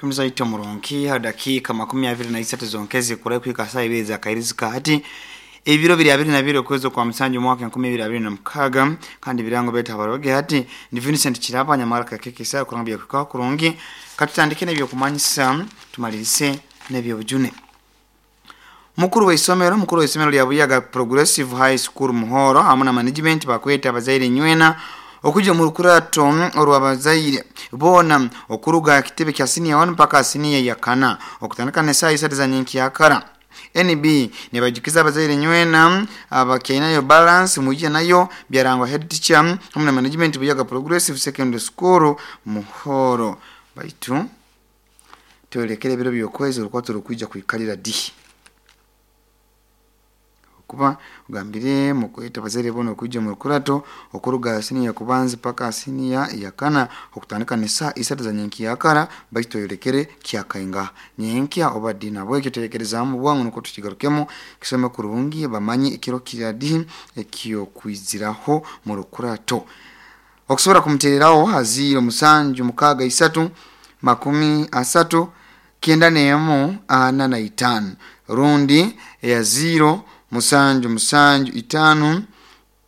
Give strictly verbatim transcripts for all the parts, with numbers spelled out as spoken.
Kumuzaito murungi dakika makumi abiri na isatu zonkezi kurai kuika saa ibiri za kairizika hati ebiro biri abiri na biri okwezi kwa musanju mwaka enkumi ibiri abiri na mukaga kandi birango beta abaroge hati ni Vincent Kiraba nyamara kakeke saa kuranga bya kurungi katutandike n'ebyo kumanyisa tumalirise n'ebyo bujune. Mukuru wa isomero mukuru wa isomero lya Buyaga Progressive High School Muhoro hamwe na management bakweta abazaire nywena okuja mu rukurato orwabazaire bona okuruga kitebe kya senior one mpaka senior ya kana okutandika ne saa isatu za nyenki yakara. N B nibajikiza abazaire nywena abakyainayo balance mujye nayo byarangwa head teacher hamwe na management Buyaga Progressive Secondary School Muhoro. Baitu tuelekere biro byokwezi urukwato rukwija kuikalira di kuba ugambire mukweta bazere bono kuja mu rukurato okuruga senior kubanza paka senior ya kana okutandika ne saa isatu za nyenki yakara baitu yorekere kyakainga nyenkia oba dina bwekyo terekereza mu bwangu nuko tukigarukemo kisome kurungi bamanyi ikiro kiradi ekyo kwiziraho mu rukurato. Okusobora kumutereraho haziro musanju mukaga isatu makumi asatu kienda nemu ana na itano rundi ya zero musanju musanju itano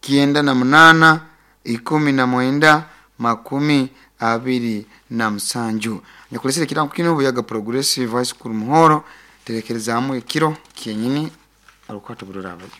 kienda na munana ikumi na mwenda makumi abiri na musanju. Nyakulesere kirango kino Buyaga Progressive High School Muhoro terekerezamu ekiro kyenyini arukwato bururabayo.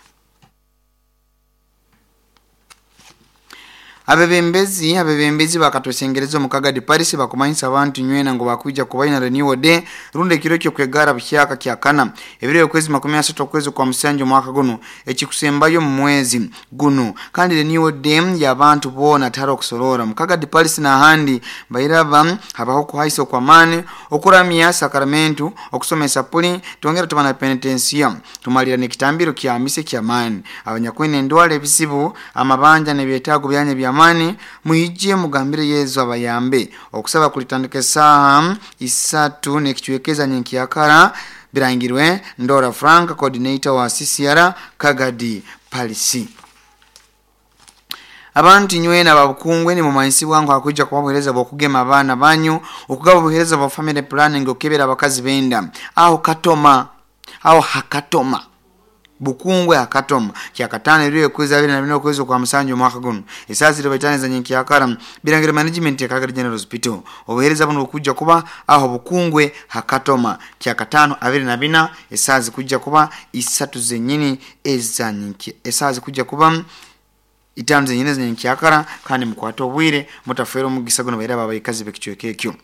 Abebembezi abebembezi bakatwesengereza omukaga di Paris bakumanyisa abantu nywena ngo bakuja kubaina renewal day runde ekiro kyo kwegara buhyaka kyakana ebiro okwezi makumi asatu okwezi kwa musanju mwaka guno ekikusembayo mu mwezi guno kandi renewal day y'abantu bona taro kusorora mukaga di Paris na handi bairaba habaho kuhaisa kwa mani okuramya sakramentu okusomesa puli twongera tubana penitensia tumalira nekitambiro kya mise kya mani abanyakwene ndwale ebisibu amabanja nebyetaago byanye bya mani muhije mugambire Yezu abayambe okusaba kulitandika saa isatu nekichwekeza nyenki yakara birangirwe Ndora Frank coordinator wa C C R Kagadi Palisi. Abantu nywena babukungwe ni mumanyisi wangu hakuja kubabuhereza bokugema abaana banyu okugaba obuhereza bwa family planning okebera abakazi benda aho katoma aho hakatoma Bukungwe hakatoma kyakatano iriyo kwezi abiri na bino kwezi kwa musanju mwaka guno esasi ribaitane za nyenki yakara birangire management ya Kagadi General Hospital obuhereza buno kuja kuba aho Bukungwe hakatoma kyakatano abiri na bina esazi kuja kuba isatu zenyini eza nyenki esazi kuja kuba itano zenyini za nyenki yakara kandi mukwato obwire mutafera omugisa guno baira babayikazi bekichweke ekyo.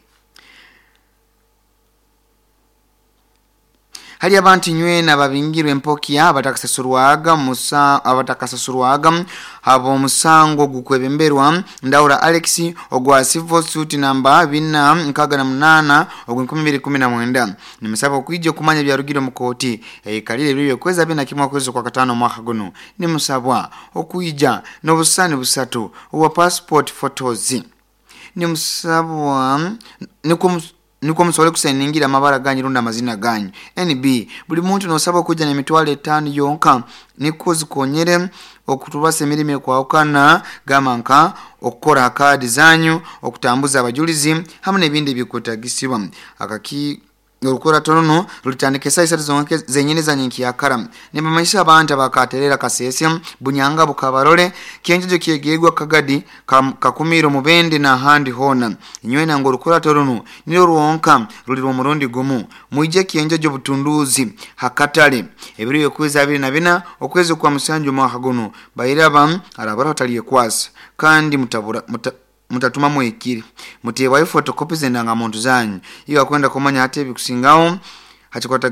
Hali abantu nywena babingirwe empokia abatakasasurwaga musa abatakasasurwaga abo musango gukwebemberwa Ndaura Alex ogwa civil suit namba bina nkaga na munana ogwa nkumi mbiri kumi na mwenda nimusaba okwijja kumanya byarugiro mu kooti eyikalire bibyo kweza bina kimwa kwezo kwa katano mwaka guno nimusabwa okwijja n'obusani busatu obwa passport photos nimusabwa niko niko msole kusayiningira amabara ganyu runda amazina ganyu. N B buli muntu nosaba kuja na mitwalo etano yonka niko zikonyere okutubasa emirimo ekwawukana gamba nka okukora kaadi zanyu okutambuza abajulizi hamwe n'ebindi ebikwetagisibwa. Akaki olukora tonono lulitandika esaa isatu zonke zenyini za nyenki yakara nibamanyisa abantu abakaterera Kasese Bunyanga Bukabarole kyenjojo kyegegwa Kagadi Kakumiro Mubende na handi hona inywena ngo olukora tonono nilo ruwonka rulirwa omurundi gumu mwije kyenjojo Butunduzi hakatale ebiro okwezi abiri na bina okwezi kwa musanju mwaka guno bairaba arabara hataliye kwasa kandi mutabura muta, mutatuma mwekiri mutewayo photocopy zendanga muntu zanyu iyo akwenda kumanya hate bikusingaho hachikwata.